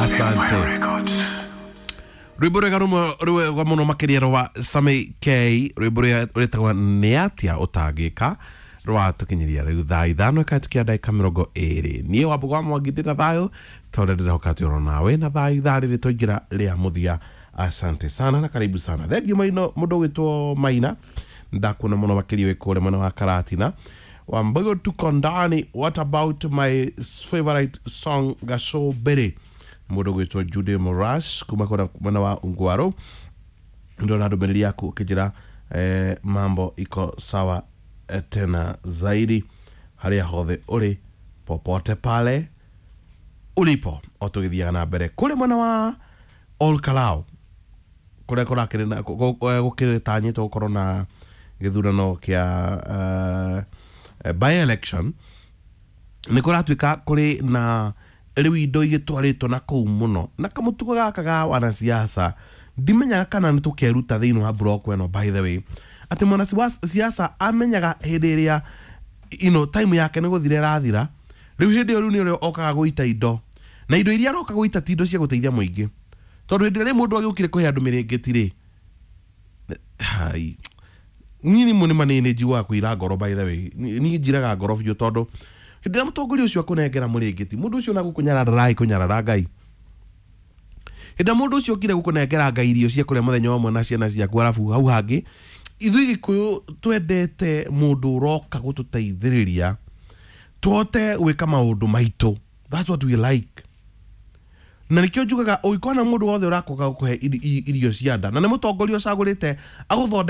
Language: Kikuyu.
Asante. Rwimbo rwega rumwe rwega muno makiria rwa Sammy K, rwimbo rũrĩa rwĩtagwo Nĩ Atĩa Ũtangĩka, rwatũkinyiria rĩu thaa 5 ĩkahĩtũkia ndagĩka 20. Niĩ Wambũgũ wa Mwangi ndĩ na thayũ tondũ ndĩrehoka atĩ oro nawe na thaa ithaa rĩrĩ twaingĩra rĩa mũthia. Asante sana na karibu sana. Thengiũ maino mũndũ ũgwĩtwo Maina, ndakuona mũno makĩria wĩ kũrĩa mwena wa Karatina. Wambũgũ, tuko ndani. What about my favorite song, Gacũmbĩrĩ? Mũndũ ũgwĩtwo Jude Morash kuma kũrĩa mwena wa Ungwaro, ndona ndũmĩrĩri yaku ũkĩnjĩra mambo iko sawa, tena zaidi harĩa hothe ũrĩ, popote pale ulipo. O tũgĩthiaga na mbere kũrĩa mwena wa Ol Kalou, kũrĩa kũrakĩrĩ na gũkĩtanyĩtwo gũkorwo na gĩthurano kĩa by election, nĩ kũratuĩka kũrĩ na rĩu indo igĩtwarĩtwo na kũu mũno na kamũtugo gaka ga wanasiasa. Ndimenyaga kana nĩ tũkeruta thĩinĩ wa block ĩno, by the way, atĩ mwanasiasa amenyaga hĩndĩ ĩrĩa time yake nĩ gũthira ĩrathira. Rĩu hĩndĩ ĩyo rĩu nĩ ũrĩa okaga gũita indo, na indo iria aroka gũita ti indo cia gũteithia mũingĩ, tondũ hĩndĩ ĩrĩa mũndũ agĩũkire kũhe andũ mĩrĩngĩti rĩ, hai niĩ nĩ nĩ manini njiguaga kũira ngoro. By the way, niĩ njiraga ngoro biũ, tondũ hĩndĩ ĩrĩa mũtongoria ũcio akũnengera mũrĩngĩti, mũndũ ũcio ona gũkũnyarara ndaraĩ kũnyarara Ngai. Hĩndĩ ĩrĩa mũndũ ũcio okire gũkũnengera Ngai irio cia kũrĩa mũthenya ũmwe na ciana ciaku, arabu hau hangĩ ithuĩ Gĩkũyũ twendete mũndũ ũroka gũtũteithĩrĩria tũhote gwĩka maũndũ maitũ. That's what we like. Na nĩkĩo njugaga ũngĩkona mũndũ wothe ũrakoga gũkũhe irio cia nda na nĩ mũtongoria ũcagũrĩte agũthondeke.